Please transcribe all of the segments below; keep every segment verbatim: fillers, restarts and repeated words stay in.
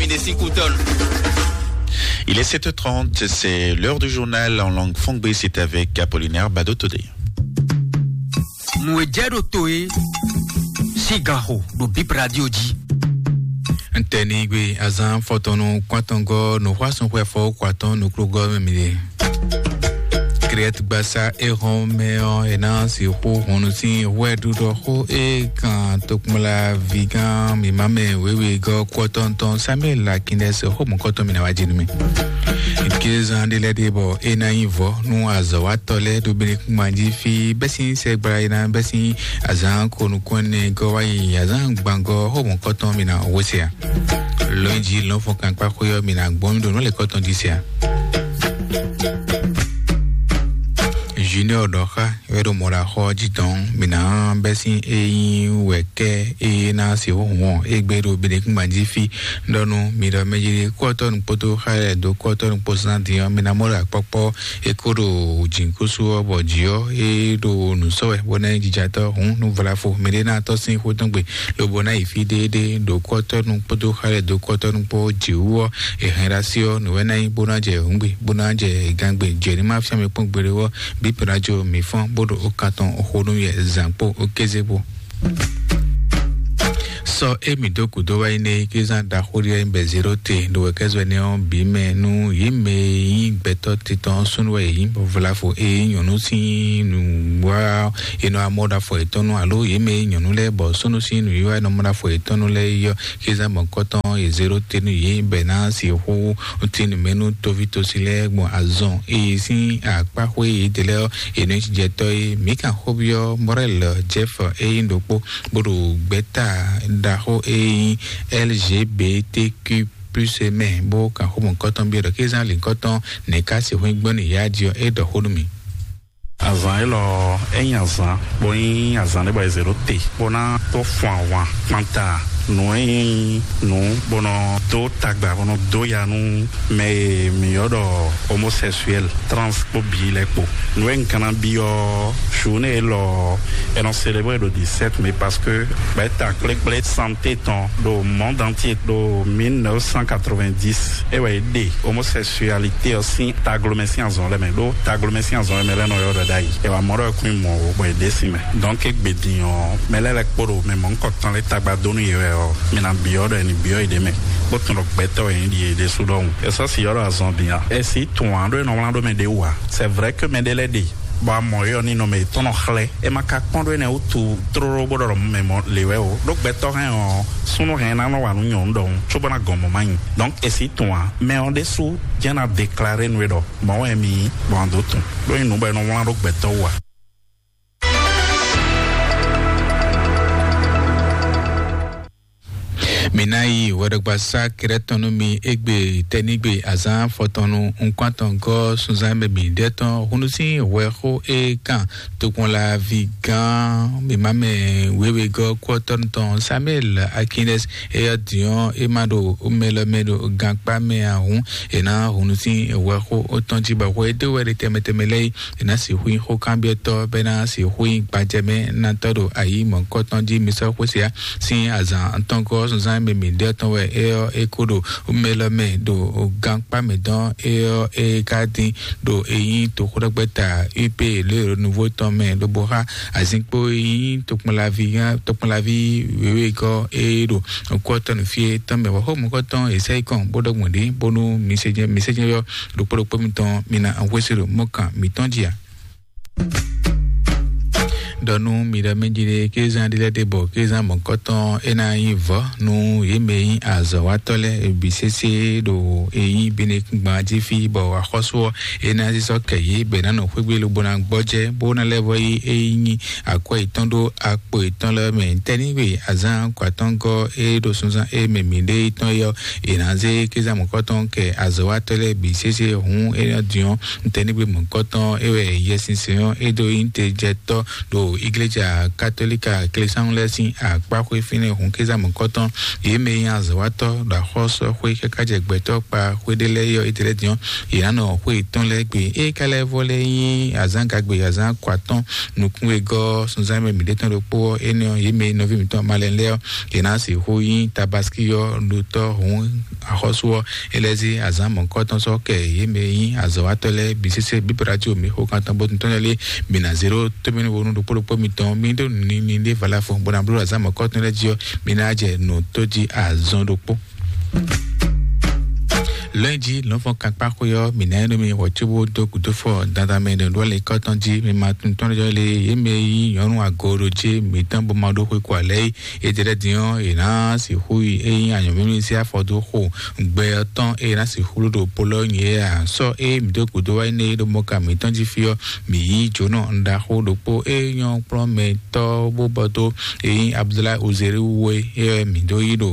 Il est sept heures trente, c'est l'heure du journal en langue fongbe, c'est avec Apollinaire Badotodé. Nú e jɛ ɖo to e, sigaxo ɖo Bip Radio jí. Ntɛnigbe azan fɔtɔnu kwatɔngɔ nɔxɔasɔnxwɛfɔ kwatɔn nukplɔgɔ mɛ mi ɖe. Krɛt gbasa ehɔn mɛ ɔ, e na si xo hɔnnu sin hwɛ ɖuɖɔ xo e kan tokpla vigán mimá mɛ wewe gɔ kɔtɔntɔn Samuel Lakinɛ se xo mɔkɔtɔ mi na wa jinu mi. Kézan ɖe lɛ ɖe bɔ e na nyi vɔ nú azɔ̌watɔ lɛ ɖo Benekuma jí fi bɛ́ sín sɛgbla e na bɛ́ sín azǎn ko nukɔn nɛ gɔ wá yi azǎn gbangɔ xo mɔkɔtɔn mi na wesea. Lɔnji lɔnfɔn kankpa xwé ɔ mi na gbɔn mi ɖo nɔ le kɔtɔn jí sia. Junior ɖɔ xa wɛ ɖo mɔɖaxɔ jí tɔn mi na bɛ́ sín eyi wɛ kɛ eye na se hɔn egbe ɖo Benekuma jí fi ɖɔnu mi ɖɔ mɛ jí kɔtɔnu kpoto xa yɛ do kɔtɔnu kpo sán din ɔ mi na mɔ ɖo akpɔkpɔ e ko ɖo jǐnkúsú ɔ bɔ jí ɔ e ɖo nǔ sɔ wɛ bɔ ná nyí jijatɔ hǔn nú vlafo mɛ ɖé ná tɔ́ sín xó tɔn gbe lobo ná yi fí ɖéeɖée ɖo kɔtɔnu kpódó xalɛ dó kɔtɔnu kpó jǐwú ɔ́, è hɛn ɖo así ɔ́, nǔ wɛ ná nyí bó ná jɛ hǔngbe, bó ná jɛ gangbe, jɛ ní má fíán mi kpɔ́n gbeɖé ɔ́, bí pɛ́nájo mǐ fɔ́n bó ɖo ó kan tɔn xó nú yɛ zǎn kpó ó kéze kpó. Sɔ émí dó gǔdo wá yi nɛ kézán ɖaxó ɖé bɛ zéro te ɖo wɛ kɛzɔ ɛnɛ ɔ́ bǐ mɛ nú yě mɛ e nyí gbɛtɔ́ titɔn súnnu wɛ yě nyí vlafo e nyí nyɔ̌nu sín nǔ wá è nɔ amɔ ɖo afɔ yětɔn nu alo yě mɛ e nyí nyɔ̌nu lɛ́ɛ bɔ súnnu sín nǔwiwa e nɔ mɔ ɖo afɔ yětɔn nu lɛ́ɛ yi ɔ́, kézán mɔ̌kɔtɔn e zéro te nú yě bɛ ná sixú tín nǔ mɛ nú tóví tosi lɛ́ɛ gbɔn azɔn e sín akpáxwé yědɛɛ lɛ́ɛ ɔ́, è nɔ nyí jijɛtɔ́ é. Mǐ kan xóbyɔ́ Mɔrɛl Jɛ́f e nyí ɖokpó bó ɖo gbɛ̌ta ɖaxó e nyí L G B T Q plus mɛ bó kan xó mɔ̌kɔtɔn byɔ́ ɖɔ kézán lǐnkɔtɔn nɛ̌ ká sixú nyí gbɔn nú yě a jí ɔ́, é ɖɔ xó nú mì. Azǎn élɔ́ é nyí azǎn bó nyí azǎn ɖé bɔ è zě ɖó te bó ná tó fun ahwan kpanta nǔ e nyí nǔ bó nɔ dó tagba bó nɔ dó ya nú mɛ e mǐ ylɔ́ ɖɔ homosexuel, trans kpó bǐ lɛ́ɛ kpó. Nǔ e un ka ná byɔ́ journée élɔ́ è nɔ célébrer ɖo dix-sept mai parce que gbɛ̌ta kplékplé santé tɔn ɖo monde entier ɖo mille neuf cent quatre-vingt-dix é wɛ é ɖe homosexualité ɔ́ sín taglomɛ sín azɔn lɛ́ɛ mɛ ɖó taglomɛ sín azɔn lɛ́ɛ mɛ lɛ́ɛ nɔ ylɔ́ ɖɔ ɖ'ayǐ. È wǎ mɔ ɖɔ é kún nyí mɔ̌ ó, bɔ è ɖe sin mɛ. Donc égbé din ɔ́, mɛ lɛ́ɛ lɛ́ɛ kpó ɖo mɛ mɔ̌hunkɔtɔn lɛ́ɛ tagba dó nú yě wɛ ɔ́, mi ná byɔ́ ɖɔ è nǐ byɔ́ yěɖée mɛ, bó tunwun ɖɔ gbɛtɔ́ wɛ nyí ɖi yěɖée sú ɖɔhun. È sɔ́ si ylɔ́ ɖɔ azɔn din a? È sǐ tunwun ǎ ɖó è nɔ wlán ɖó mɛ ɖě wú ǎ. C'est vrai que mɛ ɖé lɛ́ɛ ɖe bɔ a mɔ yɔ ní nɔ mɛ yětɔn nɔ xlɛ́. É ma ka kpɔ́n ɖó énɛ́ wútu tlóló bó ɖɔ mɛ mɔ lě wɛ o. Ɖó gbɛtɔ́ hɛn ɔ́, súnnu hɛn ná nɔ wa nú nyɔ̌nu ɖɔhun, cóbó ná gɔn mɔ̌ ma nyi. Donc è sǐ tunwun ǎ. Mɛ ɔ́ ɖésú jɛ́n ná déclaré nú é ɖɔ mɔ̌ wɛ mi nyí, bɔ a dǒ tunwun. Ɖó nyí nǔ bɔ è nɔ wlán ɖó gbɛtɔ́ wú ǎ. Mi ná yi wɛɖɔgbasá kɛɖɛtɔn nú mi égbé tɛ́nígbe azǎn fɔtɔnnu nukɔntɔn gɔ́ sunzán mɛ bǐ ɖɛ́ tɔn húnú sín hwɛxó e kan tokpɔnlaví gán mǐmá mɛ wěwegɔ́ kúɔtɔ́nu tɔn Samuel Akines. Éyɔ́ din ɔ́, é má ɖo mɛ lɔ mɛ ɖo gankpá mɛ ǎ hǔn, è nǎ húnú sín hwɛxó tɔn jí bɔ hwɛ e dó wɛ ɖe tɛnmɛ tɛnmɛ lɛ́ɛ é ná sixú nyí xókanbyɔ́tɔ́, bɔ é ná sixú nyí gbajɛmɛnátɔ́ ɖo ayǐ mɔ̌hunkɔtɔn jí. Mi sɔ́ xwé se ǎ, sín azǎn atɔ́ɔ́ngɔ́ zunzán e mɛ mǐ ɖe ɔ́ tɔn wɛ é ɔ́ é kó ɖo mɛ lɔ mɛ ɖo gankpá mɛ dɔn é ɔ́ é ka dín ɖo é nyí toxóɖɔgbɛ́ta U P le Renouveau tɔn mɛ lobo xá azinkpo e nyí tokpɔnlaví tokpɔnlaví wěwegɔ́ é ɖo kúɔtɔ́ nǔ fí é tɔn mɛ. Wɔ xó mɔ̌kɔtɔn è sɛ́ yi kɔn bó ɖɔ gbɔn ɖě bónú mi se jɛ mi se jɛ yɔ ɖokpó ɖokpó mitɔn mi ná hwesí ɖo mɔ̌kan mǐtɔn jí ǎ. Ɖɔ nú mi ɖɔ mɛ jí ɖe kézán ɖé lɛ́ɛ ɖe bɔ kézán mɔ̌kɔtɔn é ná nyí vɔ̌ nú yě mɛ e nyí azɔ̌watɔ́ lɛ́ɛ bǐ sésé ɖo e nyí Benekúngban jí fí bɔ axɔ́sú ɔ́ é ná sísɔ́ kɛ yě bɔ è nǎ nɔ xwé gbe lobo ná gbɔjɛ́ bó ná lɛ́ vɔ yí é nyí akwɛ́ yětɔn ɖó akpo yětɔn lɛ́ɛ mɛ. Tɛ́nígbe azǎn kɔ atɔ́ngɔ́ é ɖo sunzán é mɛ mǐɖée tɔn é ɔ́, è nǎ zé kézán mɔ̌kɔtɔn kɛ azɔ̌watɔ́ lɛ́ɛ bǐ sésé hǔn é ná din ɔ́, tɛ́nígbe mɔ̌kɔtɔn é wɛ Yɛsinsɛn ɔ́ é dó nyí tejɛtɔ́ ɖo Igleja Katolika Klesánnu lɛ́ɛ sín akpáxwé fínɛ́ hun kéza mɔ̌kɔtɔn, yě mɛ e nyí azɔ̌watɔ́ ɖo axɔ́súxwé káká jɛ gbɛtɔ́ kpa xwé ɖé lɛ́ɛ yɔ étɛ́ lɛ́ɛ din ɔ́, yě ná nɔ xwé yětɔn lɛ́ɛ gbe. Ée ka lɛ́ vɔ lɛ́ɛ nyí azǎngagbe azǎn kɔ atɔ́ nukún e gɔ́ sunzán mɛ mǐɖée tɔn ɖokpó ɔ́, énɛ́ ɔ́, yě mɛ e nɔví mǐtɔn malɛn lɛ́ɛ ɔ́, yě ná sixú nyí tabaski ɔ́ ɖotɔ́ hǔn axɔ́sú ɔ́, é lɛ́ zé azǎn mɔ̌kɔtɔn sɔ́ kɛ yě mɛ e nyí azɔ̌watɔ́ lɛ́ɛ bǐ sésé bíbrajo mǐ xo kan tɔn bó tɔn lɛ́ɛ lé mǐ ná zé ɖó tómɛnúwonu ɖokpó ɖokpó mitɔn mí ɖó nǔnini ɖé valafo bó ná bló azǎn mɔ̌kɔtɔn lɛ́ɛ jí ɔ́, mǐ ná jɛ nǔ tó jí azɔn ɖokpó. Lɔ̌nyijǐ lɔ̌nfɔn kankpáxwé ɔ́, mǐ ná nyí nú mi hwɛ̌ cóbó dó gǔdo fɔ dandan mɛ ɖo ɖó alɛ kɔ́tɔn jí. Mi ma tunwun tɔn jɔ lé yě mɛ e nyí nyɔ̌nu agooɖojé mǐtɔn bó ma ɖó xwé ko alɛ é. Étɛ́ lɛ́ɛ din ɔ́, è nǎ sixú yi é nyí anyɔ̌mímí sín afɔ dó xo gbɛ ɔ́ tɔn, ée è nǎ sixú ɖo ɖo Polɔ́nyɛ é ǎ. Sɔ́ ée mǐ dó gǔdo wá énɛ́ é ɖo mɔka mǐtɔn jí fí ɔ́, mǐ yí jǒnɔ ɖaxó ɖokpó é nyɔ́ kplɔ́nmɛtɔ́ bó bɔ dó é nyí Abudulayi Ozeli wú é, é wɛ mǐ dó yí ɖo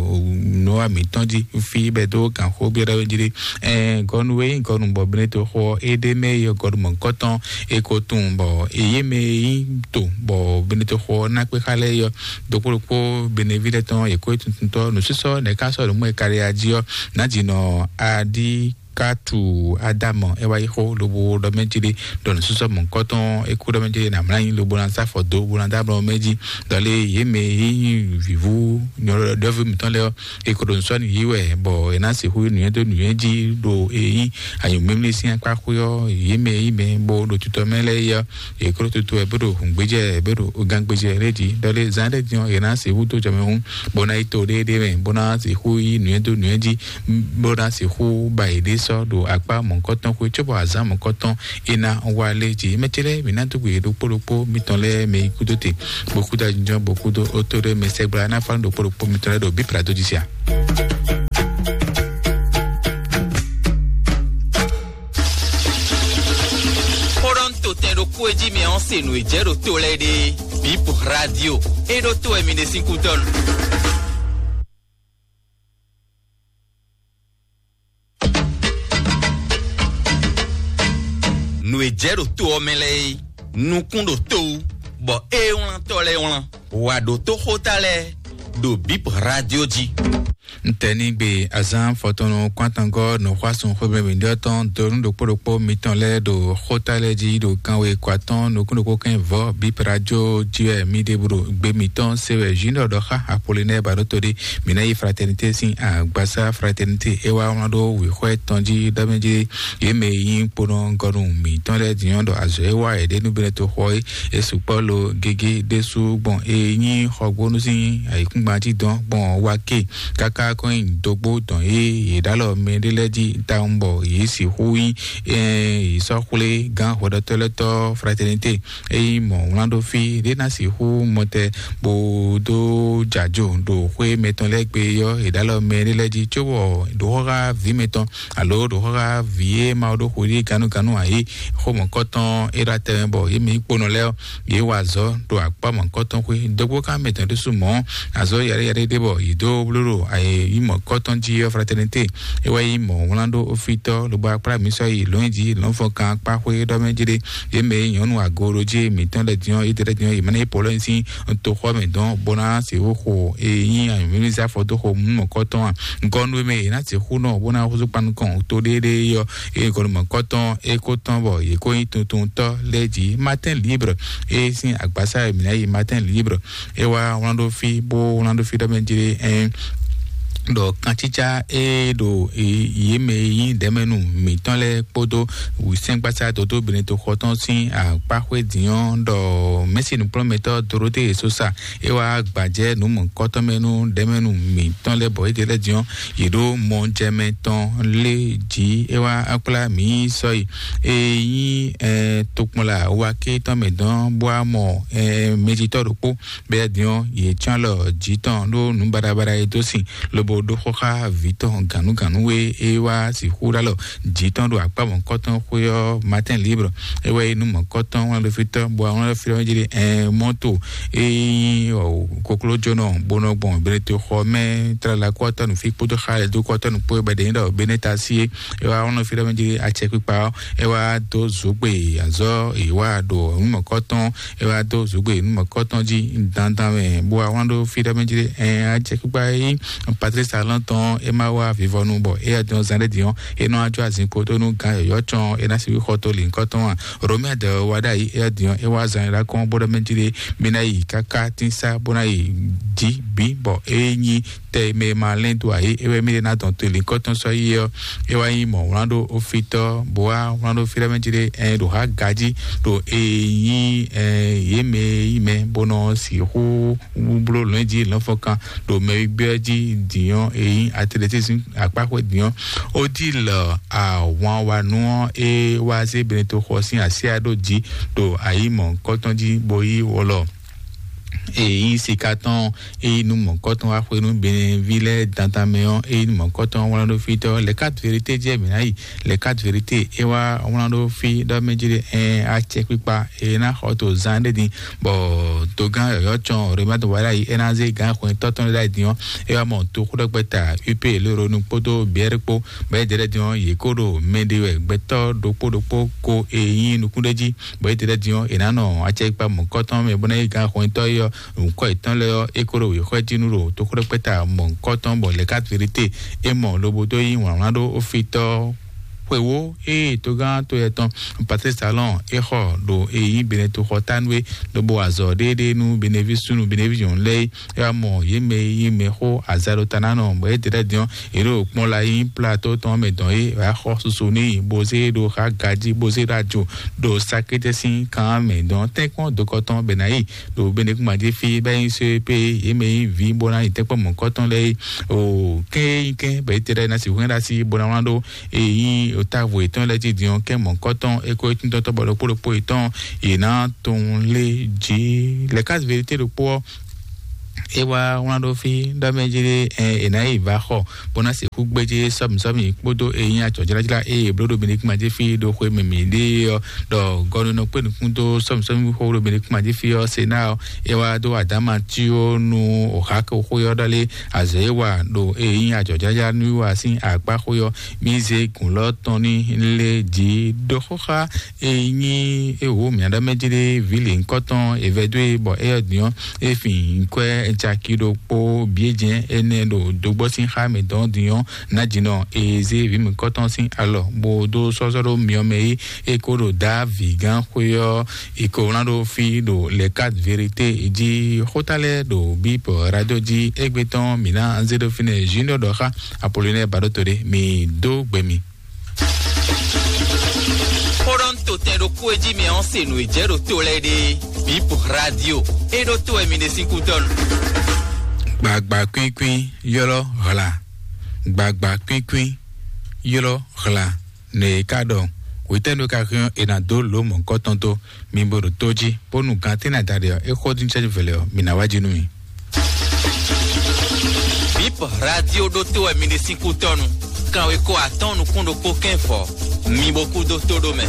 nǔwa mǐtɔn jí fí bɛ́ dó gǎnxó byɔ́ɖɔ́ jí ɖé. Ɛɛ, gɔnu e nyí gɔnu bɔ Benedikto xo ɔ́, é ɖ'é mɛ yi ɔ́, gɔnu mɔ̌hunkɔtɔn é ko tunwun bɔ é yé mɛ e nyí to bɔ Benedikto xo ɔ́ ná kpé xá lɛ́ɛ yi ɔ́, ɖokpó ɖokpó Beneví lɛ́ɛ tɔn yě ko yi tuntuntɔ́ nǔsísɔ nɛ̌ ká sɔ́ nǔ mɔ e ka ɖe ají ɔ́, nǎjínɔ Adíkátù Adámɔ é wá yi xó lobo ɖɔ mɛ jí ɖé ɖɔ nǔsísɔ mɔ̌hunkɔtɔn é kú ɖɔ mɛ jí ɖé nǎ mlá nyi lobo ná sá afɔ dó bó ná dó ablɔ mɛ jí. Ɖɔ lé yě mɛ e nyí vǐvú nyɔ̌ɖɔ́ví mǐtɔn lɛ́ɛ ɔ́, è ko ɖo nǔ sɔ́ nǔ yí wɛ, bɔ è nǎ sixú nǔnywɛ́ dó nǔnywɛ́ jí ɖo e nyí anyǔmimlí sín akpá xwé ɔ́, yě mɛ e nyí mɛ bó ɖo tutɔ mɛ lɛ́ɛ é ɔ́, è ko ɖo tutu wɛ bó ɖo hǔngbéjɛ bó ɖo gangbéjɛ lɛ́ɛ jí. Ɖɔ lé zán ɖé din ɔ́, è nǎ sixú dó jɔmɛ hú, bó ná yi to ɖéeɖée mɛ, bó ná sixú yí nǔnywɛ́ dó nǔnywɛ́ jí, bó ná sixú ba yěɖée sɔ́ ɖo akpá mɔ̌hunkɔtɔn xwé, cóbɔ azǎn mɔ̌hunkɔtɔn é ná wá lé jí. Mɛ ce lɛ́ɛ, mǐ ná dó gbe ɖokpó ɖokpó mitɔn lɛ́ɛ mɛ yi kúdó te, bó kúdó ajínjɔ́n, bó kúdó ótó ɖé mɛ sɛgbla ná fá nú ɖokpó ɖokpó mitɔn lɛ́ɛ ɖo bíplá dó jí sia. Xó ɖɔ un to tɛn ɖokpó e jí mi ɔ́ se nǔ e jɛ ɖo to lɛ́ɛ ɖe. Bip Radio, é ɖó to wɛ mi ɖe sín kútɔ́ nu. Nǔ e jɛ ɖo to ɔ́ mɛ lɛ́ɛ é, nukún ɖo to wú, bɔ é wlántɔ́ lɛ́ɛ wlán. Wǎ ɖó tó xóta lɛ́ɛ ɖo Bip Radio jí. Ntɛnigbe azán fɔtɔnnu kɔntɔngɔ nɔxɔasun xwebɛnbɛndɔ tɔn donu ɖokpó ɖokpó mitɔn lɛ́ɛ ɖo xóta lɛ́ɛ jí ɖo kanwe kɔ atɔn nukún ɖokpó kɛn vɔ Bip Radio jí wɛ mi ɖe bro gbe mitɔn se wɛ Junior ɖɔ xá Apollinaire Baɖoto ɖe. Mi ná yi Fraternité sín agbasa Fraternité é wá wlán ɖó wěxɔ tɔn jí ɖɔ mɛ jí yě mɛ e nyí kponɔ gɔnu mǐtɔn lɛ́ɛ din ɔ́ ɖɔ azɔ̌ e wa yě ɖe nú Benɛto xɔ é, é sukpɔ́ lo gégé ɖésú gbɔn e nyí xɔgbónú sín ayǐkúngban jí dɔn gbɔn wa ke káká kɔn nyi dógbó dɔn e yě ɖó alɔ mɛ ɖé lɛ́ɛ jí tawun bɔ yě sixú nyí yě sɔ́ xwlé gán hwɛɖɔtɔ́lɛ́tɔ́ Fraternité. Ényí mɔ̌ wlán ɖó fí ɖé ná sixú mɔtɛ bó dó jǎjo ɖo xwé mɛtɔn lɛ́ɛ gbe ɔ́, è ɖó alɔ mɛ ɖé lɛ́ɛ jí cóbɔ ɖǒxɔ́xá vǐ mɛtɔn alo ɖǒxɔ́xá vǐ e ma ɖó xwedí gannúgannú ǎ é xó mɔ̌kɔtɔn é ɖo atɛ mɛ bɔ yě mɛ nyí kponɔ lɛ́ɛ ɔ́, yě wa azɔ̌ ɖo akpá mɔ̌kɔtɔn xwé dógbó ká mɛtɔn ɖésú mɔ̌ azɔ̌ yaɖéyaɖé ɖé bɔ yě dó bló ɖo ayǐ mɔ̌kɔtɔn jí ɔ́ Fraternité. É wá nyí mɔ̌ wlán ɖó ofítɔ́ lobo akplá mǐ sɔ́ yi lɔ̌nyijǐ lɔ̌nfɔkan kpá xwé ɖɔ mɛ jí ɖé. Yě mɛ e nyɔ̌nu agoɖojí mǐtɔn lɛ́ɛ din ɔ́, Ederɛ́ din ɔ́, yě mɛ ná yi Polɔ́ni sín toxɔ mɛ dɔn bó ná se wó xo e nyí anyǔmímízá fɔdóxo mɔ̌kɔtɔn a? Gɔnu e mɛ yě ná sixú nɔ bó ná húzú kpan nukɔn to ɖéeɖée ɔ́, eye gɔnu mɔ̌kɔtɔn é kó tɔn bɔ yě kó nyí tuntuntɔ́ lɛ́ɛ jí. Matin Libre e sín agbasa e mǐ ná yi Matin Libre é wá wlán ɖó fí bó wlán ɖó fí ɖɔ mɛ jí ɖé ɛn ɖɔ kancícá e ɖo yě mɛ e nyí ɖɛ̌mɛnu mǐtɔn lɛ́ɛ kpódó wǔsɛ́ngbasá dodó Benɛto xɔ tɔn sín akpáxwé din ɔ́ ɖɔ mɛ̌si nǔkplɔ́nmɛtɔ́ Dorote Sosa é wá gbajɛ nǔ mɔ̌kɔtɔn mɛ nú ɖɛ̌mɛnu mǐtɔn lɛ́ɛ bɔ é ɖe lɛ́ɛ din ɔ́, yě ɖó mɔjɛmɛ tɔn lé jí é wá kplá mǐ sɔ́yi e nyí tokpɔnla wa ké tɔn mɛ dɔn bó wá mɔ mɛjitɔ́ ɖokpó bɛ́ din ɔ́, yě cyɔ́n alɔ jǐ tɔn ɖó nǔ baɖabaɖa e dó sin lobo Kpódó xɔxá vǐ tɔn gǎnúgǎnú e é wá sixú ɖó alɔ jǐ tɔn ɖo akpá mɔ̌kɔtɔn xwé ɔ́, Matin Libre, é wɛ nyí nú mɔ̌kɔtɔn wlán ɖo fí tɔn, bɔ wlán ɖo fí tɔn jí ɖe ɛn mɔto e nyí koklójónɔ bó nɔ gbɔn Benetoxɔ mɛ, tlala kɔtɔnu fí kpódó xa lɛ́ dó kɔtɔnu kpó bɛ́ ɖe nyí ɖɔ Benetasi é. É wá wlán ɖo fí tɔn jí acɛkpikpa ɔ́, é wá dó zǒgbe azɔ̌ è wá ɖo nú mɔ̌kɔtɔn, é wá dó zǒgbe nú mɔ̌kɔtɔn jí dandan mɛ, bó wá wlán ɖo fí tɔn jí ɖe ɛn acɛkpikpa e nyí Patrice Talon tɔn é ma wá vivɔnu bɔ é yá dɔn zan ɖé din ɔ́, é nɔ ajɔ azinkpo tó nú gán yɔ̌yɔ́ cɔn é ná sixú xɔ tó lǐnkɔ́ tɔn a. Romia dɛ wá ɖ'ayǐ é yá din ɔ́, é wá zan é ɖá kɔn bó ɖɔ mɛ jí ɖé mí ná yi káká tínsá bó ná yi jí bǐ bɔ é nyí tɛ mɛ ma lɛ́n dó ayǐ é wɛ mí ɖé ná dɔn tó lǐnkɔ́ tɔn sɔ́ yi ɔ́, é wá nyí mɔ̌ wlán ɖó ofítɔ́ bó wá wlán ɖó fí ɖɔ mɛ jí ɖé ɛn ɖo há gají ɖo e nyí ɛn yě mɛ yí mɛ bó nɔ sixú bló lɔ̌nyijǐ lɔ̌nfɔkan ɖo mɛ e gbé ɔ́ jí dǐn ɔ́, e nyí atletisme akpáxwé dǐn ɔ́. Odile ahwanwanu ɔ́, é wá zé Benetoxɔ sín asyá ɖó jǐ ɖo ayǐ mɔ̌hunkɔtɔn jí bó yí wɔlɔ. E nyí sika tɔn, e nyí nú mɔ̌kɔtɔn wá xwé nú Benɛví lɛ́ɛ dandan mɛ ɔ́, e nyí nú mɔ̌kɔtɔn wlán ɖó fí tɔ́. Les Quatre Vérités jɛ mǐ ná yi. Les Quatre Vérités é wá wlán ɖó fí ɖɔ mɛ jí ɖe ɛn acɛkpikpa e ná xɔ to zan ɖé din bɔ togán yɔ̌yɔ́ cɔn Rématu wá ɖ'ayǐ é ná zé gǎn hwɛntɔ́ tɔn ɖ'ayǐ din ɔ́, é wá mɔ toxóɖɔgbɛ́ta U P lóɖonu kpódó Biɛ́r kpó, bɔ é jɛ ɖɛ́ din ɔ́, yě kó ɖo mɛ ɖe wɛ gbɛtɔ́ ɖokpó ɖokpó ko e nyí nukún ɖé jí, bɔ é jɛ ɖɛ́ din ɔ́, è nǎ nɔ acɛkpikpa mɔ̌kɔtɔn mɛ bó ná yí gǎn hwɛntɔ́ é ɔ́, nǔkɔ yětɔn lɛ́ɛ ɔ́, é kó ɖo wěxɔ́ jí nú ɖo toxóɖɔgbɛ́ta mɔ̌kɔtɔn bɔ Les Quatre Vérités é mɔ lobo dó yí wlǎnwlán ɖó ofítɔ́ xwewó ée togán to yɛ tɔn Patrice Talon é xɔ ɖo e nyí Benetoxɔ tánu é, lobo azɔ ɖéeɖée nú Beneví súnnu Beneví nyɔ̌nu lɛ́ɛ é. É wá mɔ yě mɛ e nyí mɛxó azalótanánɔ bɔ é ɖe lɛ́ɛ din ɔ́, yě ɖo kplɔ́n la nyí plato tɔn mɛ dɔn é wá xɔ susu n'i bó zé ɖo xá gají bó zé ɖo ajo ɖo sakétɛ́ sín kan mɛ dɔn tɛ́nkpɔ́n dokɔ tɔn bɛ ná yi ɖo Benekuma jí fí bɛ nyí só pé yě mɛ nyí vǐ bó ná yi tɛ́nkpɔ́n mɔ̌kɔtɔn lɛ́ɛ é. O kɛ́n é nyí kɛ́n bɔ é ɖe lɛ́ɛ ná sixú hɛn ɖó así bó ná wlán ɖó e nyí távo yětɔn lɛ́ɛ jí din ɔ́, kɛ́ mɔ̌kɔtɔn é kó é tíntɔ́tɔ́ bɔ ɖokpó ɖokpó yětɔn yě ná tunwun lé jí. Les Quatre Vérités ɖokpó ɔ́, é wá wlán ɖó fí ɖɔ mɛ jí ɖé ɛ è nǎ yi va xɔ bó ná sixú gbéjé sɔ́mi sɔ́mi kpódó e nyí acɔ̌jlájlá e è bló ɖo Benekuma jí fí ɖo xwe mǐmí ɖé ɔ́, ɖɔ gɔnunɔ kpé nukún dó sɔ́mi sɔ́mi xó ɖo Benekuma jí fí ɔ́, se ná ɔ́, é wá dó adáma cí ó nú òxáko xó ɔ́ ɖɔ lé azɔ̌ e wa ɖo e nyí acɔ̌jlájlá nú wa sín akpá xó ɔ́, mí zé gǔn lɔ́ tɔn ní lé jǐ ɖó xóxá e nyí ewǒ mǐaɖɔmɛjí ɖé vǐ lěhunkɔtɔn è vɛdó e bɔ éyɛ́ din ɔ́, é fin nyǐkwɛ́ caki ɖokpó bǐ é jɛ́n énɛ́ ɖo dogbɔ́ sín xá mǐtɔn din ɔ́, nǎjínɔ e zé vǐ mǐkɔtɔn sín alɔ bó dó sɔ́sɔ́ ɖó myɔ mɛ é, é kó ɖo dǎ vǐgán xwé ɔ́, è ko wlán ɖó fí ɖo Les Quatre Vérités jí. Xóta lɛ́ɛ ɖo Bíp Radio jí égbé tɔn mǐ ná zé ɖó fínɛ́ Junior ɖɔ xá Apollinaire Baɖóto ɖé, mǐ dó gbe mi. Xó ɖɔ ń to tɛn ɖokpó e jí mɛ ɔ́ se nǔ e jɛ ɖo to lɛ́ɛ ɖe. Bíp Radio é ɖó to wɛ mi ɖe sín kútɔ́nu. Gbagba kwínkwín ylɔ́ hla. Gbagba kwínkwín ylɔ́ hla. Nǔ e ka ɖɔ wětɛ́nu ka hɛn è nǎ dó lǒ mɔ̌kɔtɔn dó mi bo ɖo tó jí, bónú gantɛ́ ná da ɖe ɔ́, é xó dín cɛ́jú vɛlɛ ɔ́, mi ná wá jí nú mi. Bip Radio ɖótó wɛ mi ɖe sín kútɔ́nu. Kanwekó atɔ́ɔ́n nukún ɖokpó kɛ́nfɔ. Mi bo kú dó tó ɖó mɛ.